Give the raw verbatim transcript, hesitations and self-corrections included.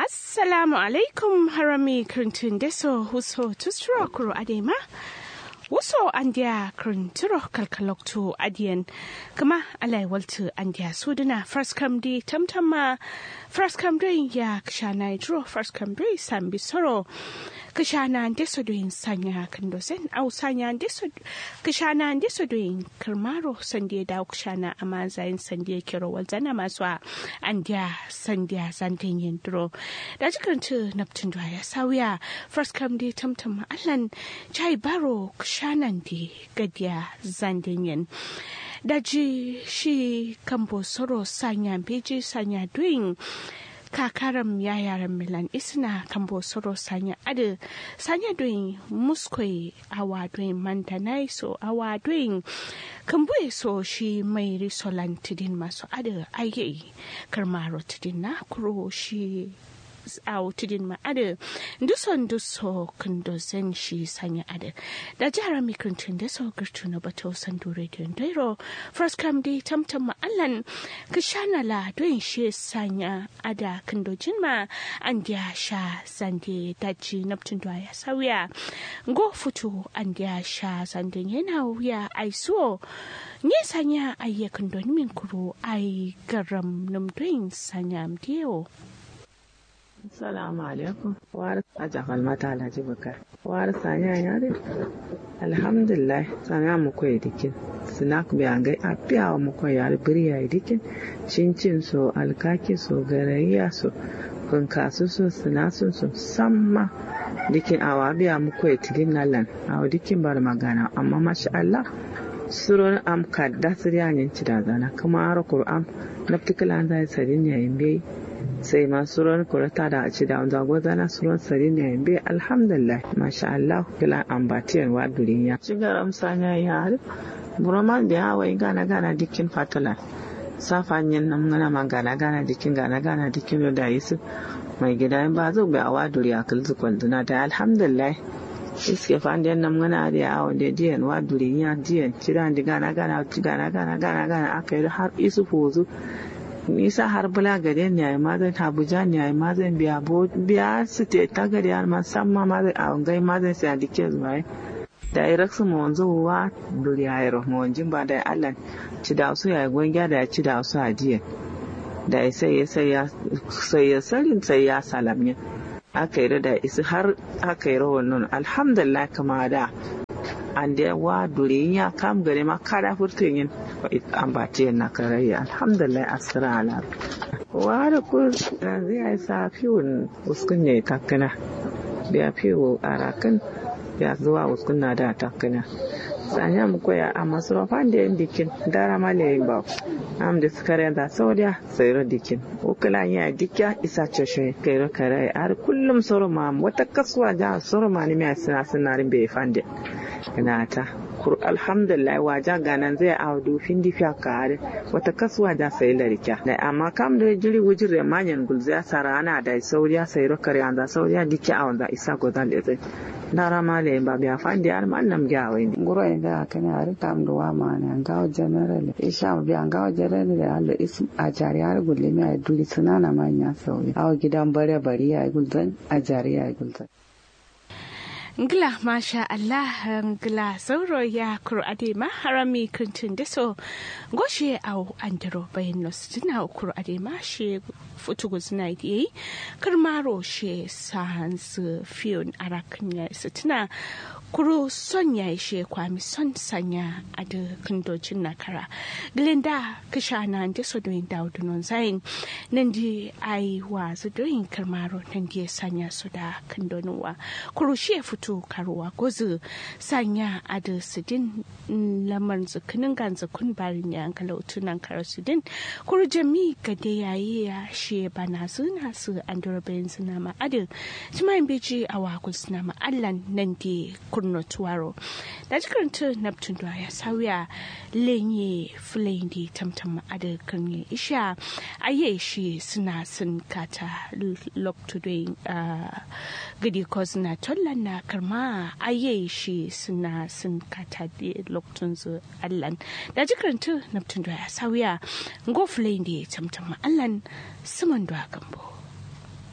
Assalamu alaikum harami kǝrǝntǝ ndeso wuso tusturo kuro adai ma. Wuso andiya kǝrǝntǝro kalkaloktu adiyen. Kǝma alai waltǝ andiya sudǝna faraskam dǝ tamtam ma. Faraskam doi ya kǝshana duro faraskam doi sambi soro. Kǝshana ndeso doin sanya kǝndo zen au sanya ndeso. Kǝshana ndeso doin kǝrmaro sandiye dawo kǝshana amma zayin sandiye kero walzana maso a. Andiya sandiya zanden yen duro. Daji kǝrǝntǝ naptǝn duwa ya sauya. Faraskam dǝ tamtam ma allan. Chai baro kǝshanan dǝ gadiya zanden yen. Daji shi kambo soro sanya mbeji sanya doin. Kakaram yayaram milan isna kambo soro sanya adǝ. Sanya doin muskoi awa doin mandanai so awa doin. Kǝmbuye so shi mairi solan tǝdin maso adǝ aiyai. Kǝrmaro tǝdin na kuro shi. Awo tǝdin ma adǝ. Nduso nduso kǝndo zen shi sanya adǝ. Daji harami kǝrǝntǝ ndeso gǝrtǝ no bato sandu rediyo ndoiro. Faraskam dǝ tamtam ma allan. Kǝshana la doin shi sanya ada kǝndo jinma. Andiya sha zande daji naptǝn duwa ya sauya. Ngo futu andiya sha zande nyena wuya aisuwo. Nye sanya aiye kǝndo nǝmin kuro ai garam nǝm doin sanya mdiyo. Assalamu alaikum. Wari aja falmata alhaji bukar. Wari sanya yare. Alhamdulillah. Sanya mukoye dikin. Sinak biya ngai afiya wa mukoye yare biriya dikin. Cincin so alkaki so garayya so. Funkasu so sinasun so samma. Dikin awa biya mukoye tidin nalan awa dikin bar magana amma masha Allah. Suron am kadda siriya nyin cida zana kuma aro kuru am. Nafti kǝlanza ye sadin yayi mbeyi. Sai ma suron kuro tada cida nza gozana suron sadin yayi mbeyi alhamdulillah. Masha Allah. Kǝla ambatiyen wa durinya cigaram sanya yayi. Buroman biya wai gana gana dikkin fatala. Safa nyin nam ngana ma gana gana dikkin gana gana dikkin do dayi sǝ. Mai gida yin ba zuk biya wa duriya kǝlzǝ kwalzǝna dayi alhamdulillah. Iske fande nam ngana adǝ ya awo nde diyen wa durinya diyen cida ndi gana gana gana gana gana gana aka yi har isu fuzu. Nisa har bǝla gaden yayi mazain habujan yayi mazain biya bo biya sǝte ta gade har ma samma mazain awo ngai mazain sai andi kezu waye. Dayi raksǝ monzu wa duriya yero monjin ba dayi allan. Cida usu yayi gongiya dayi cida usu adiyen. Dayi sai ya sai ya sai ya sarin sai ya salam yin. Aka yi da isǝ har aka yi rawar nono alhamdulillah kǝma da. Ande wa durinya kam gare ma kada furtun yin. Ambatiyen na karayya alhamdulillah asira ala. Wa da kur yanzu ya yi sa fiwun uskun ne takkina. Biya fiwu arakin. Biya zuwa uskun na da takkina. Sanya mukoya amma suro fande yin dikin dara ma leyin bawo. Am da sukaren za saudiya. Sairo dikin. Ukula nya dikya isa coshoye kairo karaye ar kullum soro ma wata kasuwa ja soro ma ni miya sina sina rin be fande. Nata. Kur alhamdulillah waja ganan zai awo du findi fiya ka are. Wata kasuwa ja sai larikya da amma kam do jiri wujire manyan gulziya sarana da sauriya sairo kare anza sauriya dikya awonza isa gozan lezai. Ndara male mba biya fande ar man nam gya wai ne nguro inde akane ari kam duwa mane ngawo general isha biya ngawo general allo is ajari ar gulle mi ay duli sunana ma nya sauye awo gidan bare bari ay gulzan ajari ay gulzan. Ngla masha Allah. Ngla sauro ya kuro ade ma harami kintun deso. Goshe au andiro bayin no sudina kuro ade ma she futu guzna diye. Kǝrmaro she sahanzǝ fiyon arakin ya sǝtǝna. Kuru son ya ishe kwami son sanya adǝ kǝndojin na kara. Gǝlinda kǝshana nde so doyin dawo dunon zayin. Nandi ai wazǝ doyin kǝrmaro nandi ye sanya so da kǝndonin wa. Kuru shi ye futu karuwa gozǝ sanya adǝ sǝdin. Lamarnzǝ kǝnǝnganzǝ kun barin ya ngalautu nankara sudin. Kuru jami gade yayi ya shiye banazǝ nasǝ andoro bayinzǝ nama adǝ. Timayin beji awa gulsǝ nama allan nande kurno tuwaro. Daji kǝrǝntǝ naptun duwa ya sauya. Lenye fulaindi tamtam adǝ kǝrnye isha. Aye shi sǝna sǝn kata loktu doyin. Gǝdi kozǝna tollan na kǝrma aye shi sǝna sǝn kata de loktunzǝ. Allan daji kǝrǝntǝ naptǝn do ya sauya. Ngo fǝlai nde tamtam ma allan. Sǝman do a gambo.